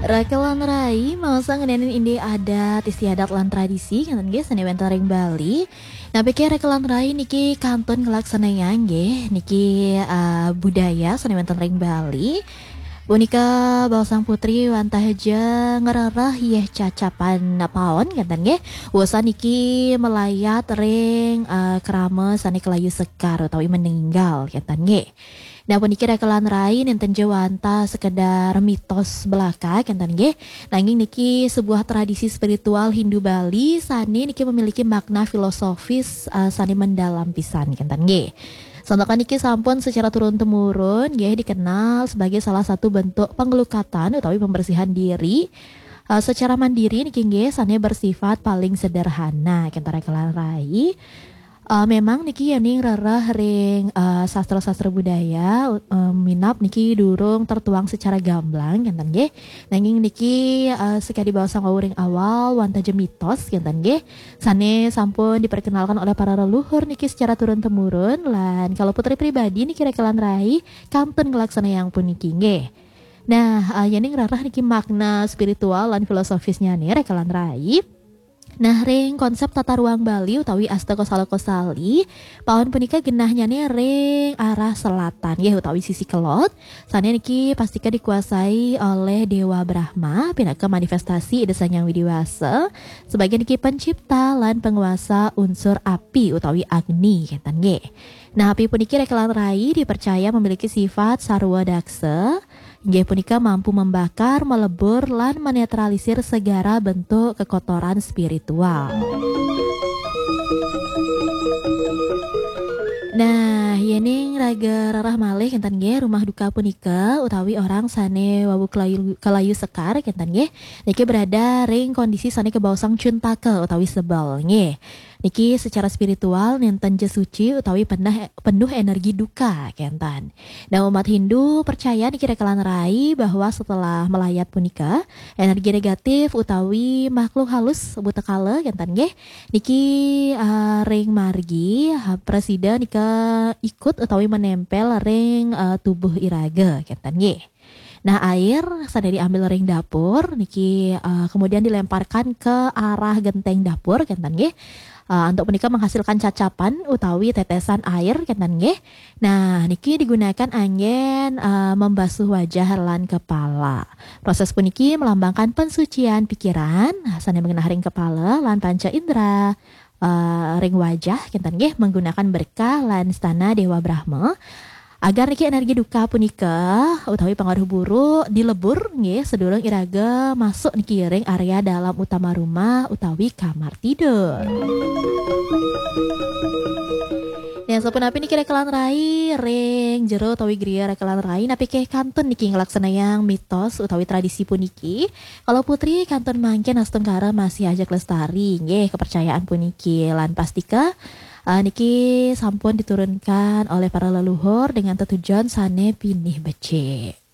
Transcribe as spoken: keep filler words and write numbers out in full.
Raka lan rai, maos ngenenin indik adat istiadat lan tradisi, ngenten nggih, sane wenten ring Bali. Napi ke raka lan rai niki kantun ngelaksanayang nggih, niki, eh, budaya sane wenten ring Bali. Punika baosang putri wantah ja ngrereh yeh cacapan paon, ngenten nggih. Wusan niki melayat ring, eh, krama sane kelayu sekar utawi meninggal, ngenten nggih. Nah, puniki raka lan rai nenten ja wantah sekedar mitos belaka, kenten nggih. Nanging niki sebuah tradisi spiritual Hindu Bali sane niki memiliki makna filosofis, eh, sane mendalam pisan, kenten nggih. Santakan niki sampun secara turun-temurun nggih dikenal sebagai salah satu bentuk pengelukatan utawi pembersihan diri, eh, secara mandiri niki nggih sane bersifat paling sederhana, kenten raka lan rai. Eh, memang niki yening rereh ring, eh, sastra-sastra budaya, eh, minab niki durung tertuang secara gamblang, kenten nggih. Nanging niki, eh, sekadi baosang wau ring awal, wantah ja mitos, kenten nggih. Sane sampun diperkenalkan oleh para leluhur niki secara turun-temurun, lan kalau putri pribadi niki raka lan rai, kantun ngelaksanayang puniki nggih. Nah, eh, yening rereh niki makna spiritual lan filosofisnya nih raka lan rai. Nah, ring konsep tata ruang Bali utawi Asta Kosala Kosali, paon punika genahnyane ring arah selatan, nggih, utawi sisi kelod. Sane niki pastika dikuasai oleh Dewa Brahma, pinaka manifestasi Ida Sang Hyang Widi Wasa, sebagai niki pencipta lan penguasa unsur api utawi agni, kenten nggih. Nah, api puniki raka lan rai dipercaya memiliki sifat sarwa daksa, inggih punika mampu membakar, melebur, lan menetralisir segala bentuk kekotoran spiritual. Nah, yening raga rereh malih kenten nggih, rumah duka punika utawi orang sane wau kelayu, kelayu sekar kenten nggih, niki berada ring kondisi sane kebaosang cuntaka utawi sebel nggih. Niki secara spiritual nenten ja suci utawi penuh, penuh energi duka, kenten. Nah, umat Hindu percaya niki raka lan rai bahwa setelah melayat punika, energi negatif utawi makhluk halus buta kala, kenten nggih, niki, eh, ring margi, ha, prasida nika ikut utawi menempel ring, eh, tubuh iraga, kenten nggih. Nah, air sane diambil ring dapur niki, eh, kemudian dilemparkan ke arah genteng dapur, kenten nggih. Eh, antuk punika menghasilkan cacapan utawi tetesan air, kenten nggih. Nah, niki digunakan anggen, eh, membasuh wajah lan kepala. Proses puniki melambangkan pensucian pikiran, sane mengenah ring kepala lan panca indera, eh, ring wajah, kenten nggih, menggunakan berkah lan istana Dewa Brahma. Agar niki energi duka punika utawi pengaruh buruk dilebur nggih sedurung iraga masuk niki ring area dalam utama rumah utawi kamar tidur. Nah, sapunapi niki raka lan rai ring jero utawi griya raka lan rai, napi ke kantun niki ngelaksanayang mitos utawi tradisi puniki? Kalau putri kantun mangkin astungkara masih ajak lestari nggih kepercayaan puniki lan pastika, eh, niki sampun diturunkan oleh para leluhur dengan tetujon sane pinih becik.